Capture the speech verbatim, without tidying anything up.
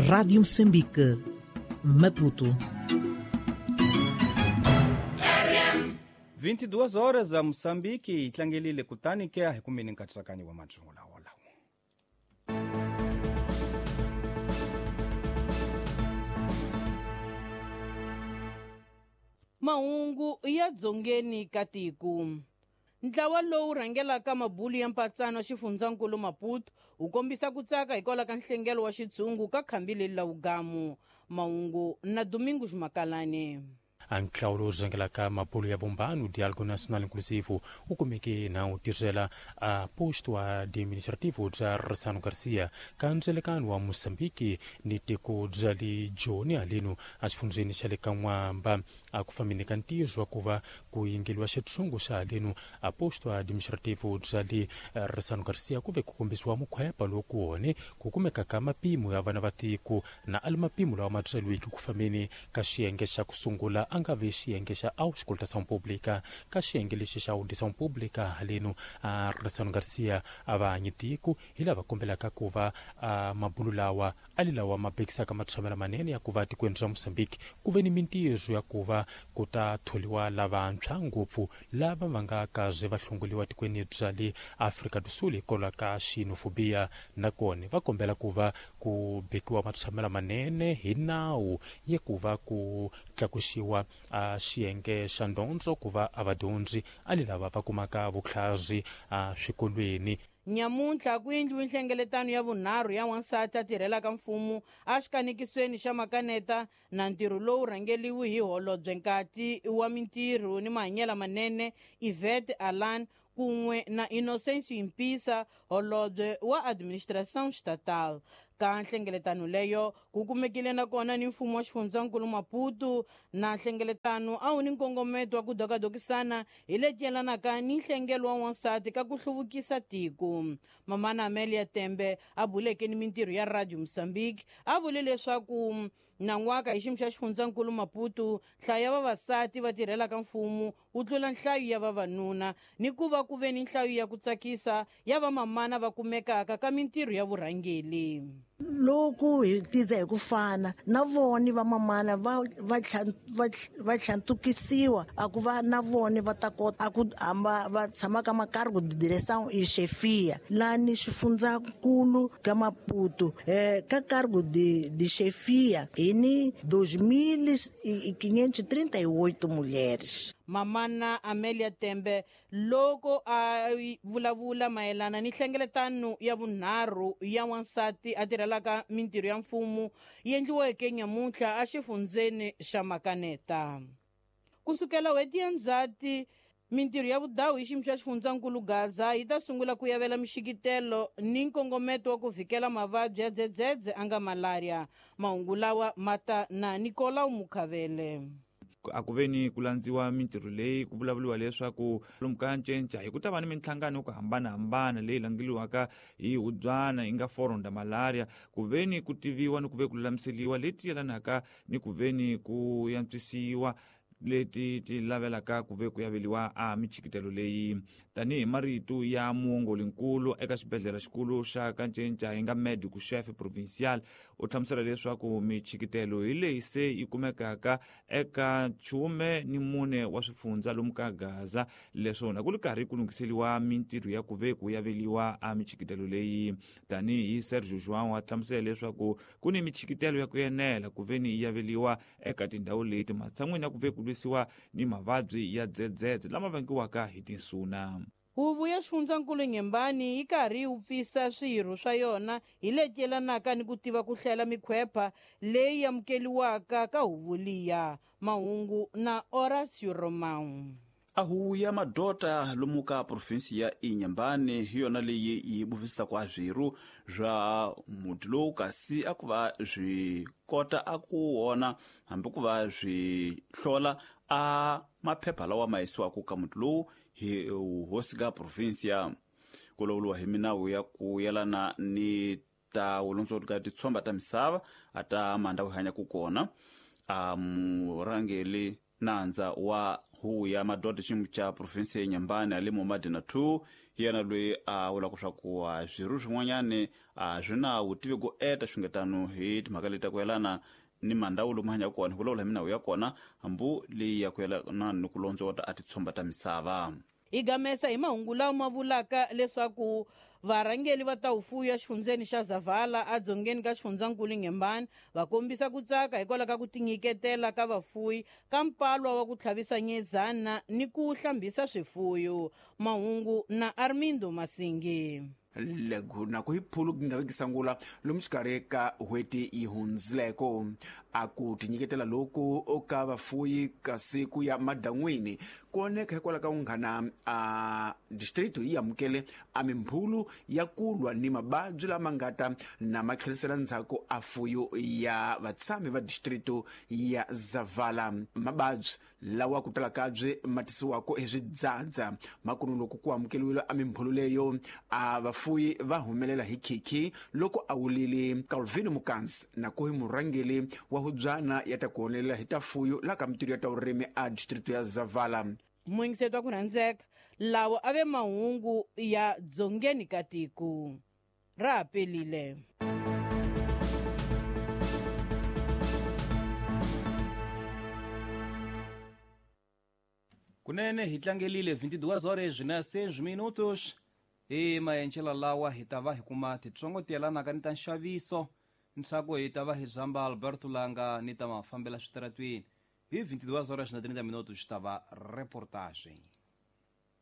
Rádio Moçambique, Maputo. vinte e duas horas a Moçambique yi tlangelile kutani ke a hi kumeni nkatsakanyo wa madyula wolawo. Mahungu ya dzongeni ka tiko. Ntlawa lowu rhangelaka mabulu ya mpatsano xifundzankulu Maputo wu kombisa ku tsaka hikwalaho ka nhlengelo wa xitshungu ka khambi leri la wugamu. Mahungu na Domingos Makalane. Ntlawa lowu rhangelaka mabulu ya vumbano Diálogo Nacional Inclusivo wu kumeke na wu tirhela a posto administrativo bya Ressano Garcia ka ndzelekano wa Moçambique ni tiko bya le Joni haleno exifundzheni xa le ka N'wamba. A ku fambeni ka ntirho wa ku va ku yingeliwa xitshungu xa haleno a posto administrativo bya le Ressano Garcia ku ve ku kombisiwa mukhwepa lowu ku wone ku kumeka ka mapimo ya vana va tiko na ali mapimo lawa ma byeriweke ku fambeni ka xiyenge xa ku sungula a nga ve xiyenge xa auscultação pública. Ka xiyenge lexi xa audição pública haleno a Ressano Garcia a va hanyi tiko hi lava kombelaka ku va a mabulu lawa ali lawa ma bekisaka matshamelo manene ya ku va tikweni ra Moçambique ku ve ni mintirho ya ku va ku ta tholiwa lavantshwa ngopfu lava va nga kaze va hlongoliwa tikweni bya le Afrika do Sul hikwalaho ka xenofobia. Nakona va kombela ku va ku bekiwa matshamelo manene hi nawu ya ku va ku tlakuxiwa a xiyenge xa ndondzo ku va a vadyondzi ali lava va kumaka vutlhari a swikolweni. Nyamuntlha ku endliwe nhlengeletano ya vunharhu ya wansati a tirhelaka mfumo a xikanekisweni xa Makaneta na ntirho lowu rhangeliwe hi holobye nkati wa mintirho ni mahanyelo manene Yvette Alan kun'we na Inocêncio Impisa, holobye wa administração estatal. Ka nhlengeletano leyo ku kumekile nakona ni mfumo wa xifundzankulu Maputo na nhlengeletano a wu ni nkongometo wa ku dokadokisana hi leti yelanaka ni nhlengelo wa wansati ka ku hluvukisa tiko. Mamana Amelia Tembe a buleke ni mintirho ya Radio Moçambique a vule leswaku nan'waka hi xiyimo xa xifundzankulu Maputo nhlayo ya vavasati va tirhelaka mfumo wu tlula nhlayo ya vavanuna ni ku va ku ve ni nhlayo ya ku tsakisa ya vamamana va kumekaka ka mintirho ya vurhangeli. Loko hi tiza hi ku fana na vona vamamana va va va tlhantukisiwa a ku va na vona va ta kota a ku hamba va tshama ka makargo de direção e chefia lani xifundzankulu ka Maputo eh ka cargo de de chefia hi ni dois mil e quinhentos e trinta e oito mulheres. Mamana Amelia Tembe loko a vulavula mayelana ni nhlengeletano ya vunharhu ya wansati a tirhelaka mintirho ya mfumo yi endliweke nyamuntlha exifundzheni xa Makaneta. Kusukela n'hweti ya Ndzhati mintirho ya vudawu hi xiyimo xa xifundzankulu Gaza yi ta sungula ku yavela mixikitelo ni nkongometo wa ku vhikela mavabyi ya dzedzedze a nga malaria. Mahungu lawa ma ta na Nicolau Mukhavele. A ku ve ni ku landziwa mintirho leyi ku vulavuriwa leswaku lomu ka ncenca hi ku ta va ni minhlangano yo ku hambanahambana leyi langeliwaka hi hubyana yi nga forum da malaria ku ve ni ku tiviwa ni ku ve ku lulamiseliwa leti yelanaka ni ku ve ni ku yantswisiwa leti ti lavelaka ku ve ku yaveliwa a michikitelo leyi. Tanihi marito ya muongolinkulu eka xibedhlele xikulu xa Kancenca hi nga médico chefe provincial u hlamusela leswaku michikitelo hi leyi se yi kumekaka eka nchume ni mune wa swifundza lomu ka Gaza leswona ku ri karhi ku lunghiseliwa mintirho ya ku ve ku yaveliwa a michikitelo leyi. Tanihi Sergio João a hlamusela leswaku ku ni michikitelo ya ku enela ku ve ni yi yaveliwa eka tindhawu leti matshan'wini ya ku ve ku lwisiwa ni mavabyi ya dzedzedze lama vangiwaka hi tinsuna. Huvo ya xifundzankulu Nyembani yi karhi yi wupfisa swirho swa yona hi leti yelanaka ni ku tiva ku hlela mikhwepa leyi amukeliwaka ka huvo liya. Mahungu na Horacio Romão. A huvo ya madota lomu ka provinsi ya Inhambane hi yona leyi yi buvisaka swirho swa muti lowu kasi a ku va swi kota a ku wona hambi ku va swi hlola a maphepha lawa ma yisiwaka ka muti lowu hi hosi ka provinsia. Ku lawuriwa hi minawu ya ku yelana ni ta vulondzori ka titshomba ta misava a ta mandhawu hi hanyaka kona. A murhangeli nandza wa huvo ya madoda xiyimo xa provinsi ya Inhambane ali Momadina two Hi yena loyi a vulaka swa ku swirho swin'wanyani a swi na vutivi ku eta xungetano hi timhaka leti ta ku yelana ni mandhawu lomu hanyaka kona, hi vulavula hi minawu ya kona hambu leyi ya ku yelana ni ku londzota a titshomba ta misava. Hi gamesa hi mahungu lawa ma vulaka leswaku varhangeli va ta vufuwi exifundzeni xa Zavala edzongeni ka xifundzankulu Inhambane va kombisa ku tsaka hikwalaho ka ku tinyiketela ka vafuwi ka mpalwa wa ku tlhavisa nyezana ni ku hlambisa swifuyo. Mahungu na Armindo Masingi. Lego na ku hi phulu ku nga vekisangula lomu xikarhi ka n'hweti yi hundzileko a ku tinyiketela loku ka vafuwi kasi ku ya madan'wini ku oneka hikwalaho ka vunghana a district yi amukele a mimbhulu ya ku lwa ni mavabyi lama nga ta na ma tlherisela ndzhaku a fuyo ya vatshami va district ya Zavala. Mavabyi lawa ku tala kabye ma tisiwaka hi swidzadza makunu loko ku amukeliwile a mimbhulu leyo a vafuwi va humelela hi khikhi loko a wulile Calvin Mukansi na ku hi murhangeli wa hubyana ya ta ku honelela hi ta fuyo la ka mitirho ya ta vurimi a district ya Zavala. Muyingiseti wa ku rhandzeka, lawa a ve mahungu ya dzongeni ka tiko ra ha pelile. Kunene hi tlangelile vinte e duas horas na seis minutos. E maenchela lawa hi ta va hi kuma titsongo ti yelanaka ni ta nxaviso ntsako hi ta va hi zamba Alberto Langa ni ta mafambela switaratweni hi vinte e duas horas na trinta minutos ta va reportagem.